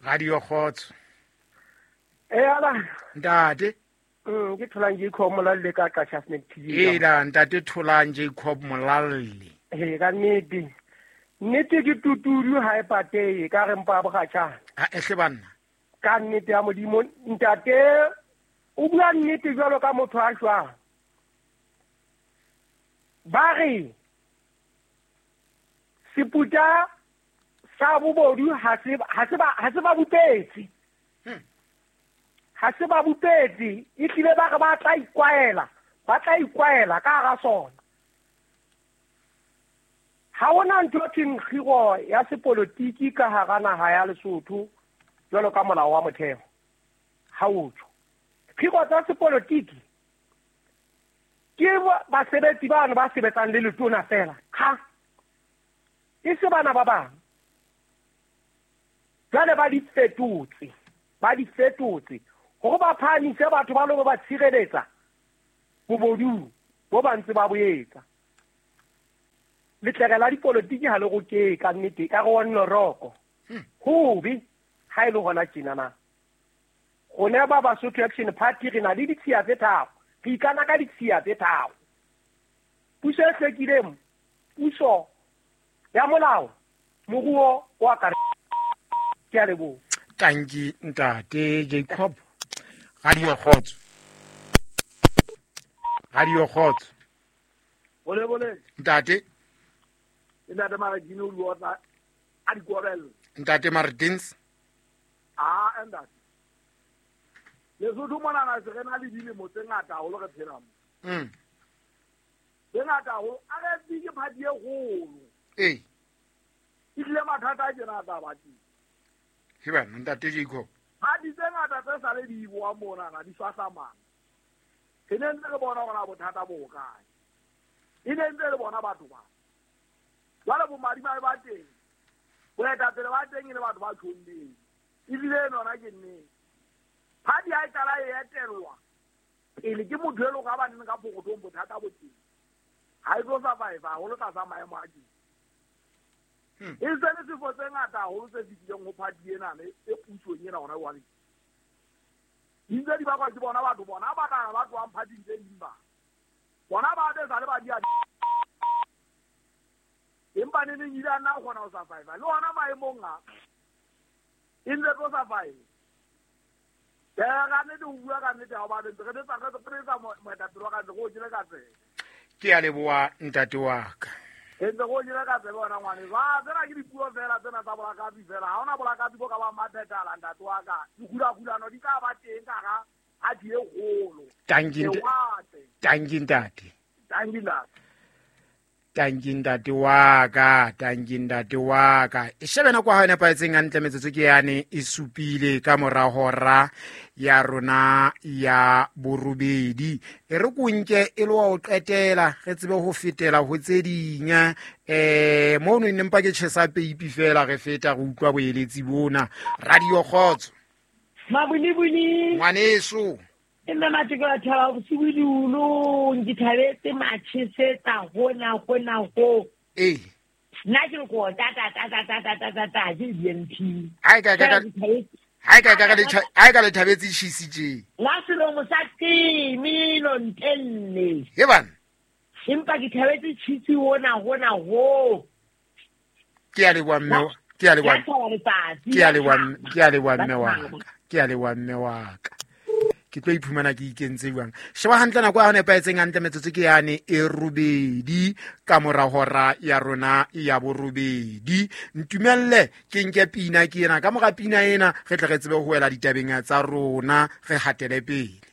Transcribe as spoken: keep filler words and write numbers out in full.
Radio Kgotso. E ala ntate. Mm ke Tholang Jacob Molalle ka Qacha's Nek T V. E la ntate Tholang Jacob Molalle. E ka nnete. Nnete ke tutudu ha e pateye ka re mpa bogatjana. Ha ehle banna. Ka nnete ya Modimo ntate o bua nnete jwalo ka motho a shwang. Ba re seputa sa bobodu ha se ha se ba ha se ba bupetse. Ha se ba bupetse e tlile ba re ba tla ikwaela, ba tla ikwaela ka hara sona. Ha hona ntho e thweng kgiro ya sepolotiki ka hara naha ya Lesotho jwalo ka molao wa motheo. Ha o tjho. Kgiro tsa sepolotiki ke basebetsi bano ba sebetsang le letona fela. Ha e se bana ba bang. Jwale ba di fetotse, ba di fetotse hore ba phahamise batho ba lo ba tshireletsa bobodu bo ba ntse ba bo etsa. Letlere la dipolotiki ha le roke ka nnete ka re wa nnoroko. Hobe ha e le hona tjena na. Rona ba Basotho Action Party re na le ditshiya tse tharo. Re ikana ka ditshiya tse tharo. Puso e hlwekileng, puso ya molao, moruo wa ka. Ke a leboha. Tanki ntate Jacob. Radio Kgotso. Radio Kgotso. Bole bole. Ntate. Ntate Martins o bua a di korel. Ntate Martins. Ah ntate. Lesotho mona na se re na le dilemo tse ngata haholo re phela mo. Mm. Tse ngata haholo a re ke party e kgolo. Eh. E tlile mathata a tjena a tla ba teng. He bana ntate Jacob. Ha di tse ngata tse sa le di bua mona na di swahlamana. Re ne ntse re bona hore bothata bo hokae. E ne ntse le bona batho ba. Jwale bo madimabe ba teng. Boetapele ba teng e le batho ba tjholleng. Ebile nona ke nnete. Party ha e qala e etellwa pele ke motho e leng hore ha ba neng ka pokothong bothata bo teng. Ha e tlo survive haholo tlasa maemo a teng. E se le sefo tse ngata haholo tse fetileng ho party ena e pusong ena hona jwale. Di ntse di bakwa ke bona batho bona ba tla ba tlohang party-ing tse ding ba. Bona ba be sa le ba di a empa ne neng ile a nna kgona ho survive. Le hona maemong a e ntse tlo survive. Ke ga nnete ho bua ka nnete ha o ba ntse re tsa re tsa moetapele wa ka ntse go jele ka tsebe. Ke a leboha ntate wa ka. Ke ntse go jele ka tsebe wena ngwane. Ba tsena ke dipuo fela tsena tsa bolakapi fela. Ha hona bolakapi bo ka ba maphethala ntate wa ka. Dikgulakgulano di tla ba teng ka ga ha di e kgolo. Tanki Tanki ntate. Tanki ntate. Tanki ntate wa ka, tanki ntate wa ka. E shebe nako ha e nepahetseng hantle metsotso ke yane e supile ka mora hora ya rona ya borobedi. E re ko nke e le wa ho qetela re tsebe ho fetela ho tse ding. Eh mono ne mpa ke tjhesa peipi fela re feta re utlwa boeletsi bona. Radio Kgotso. Mabulibuli. Ngwaneso. E nna matjeko a thaba bosibu ke thabetse matjhesetsa hona hona ho. Eh. Nna ke re ko ta ta ta ta ta ta ta ta ke B N P. Ha ka ka ha ka ka le ha ka le thabetse cheese tje. La selomo sa timi no ntelle. He bana. Empa ke thabetse cheese hona hona ho. Ke a leboha mme, ke a leboha. Ke a leboha, ke a leboha mme wa ka. Ke a leboha mme wa ka. Ke tlo iphumana ke ikentse jwang. Sheba hantle nako ya nepahetseng hantle metsotso ke yane e robedi ka mora hora ya rona ya borobedi. Ntumelle ke nke pina ke ena ka mora pina ena re tle re tsebe ho wela ditabeng tsa rona re hatele pele.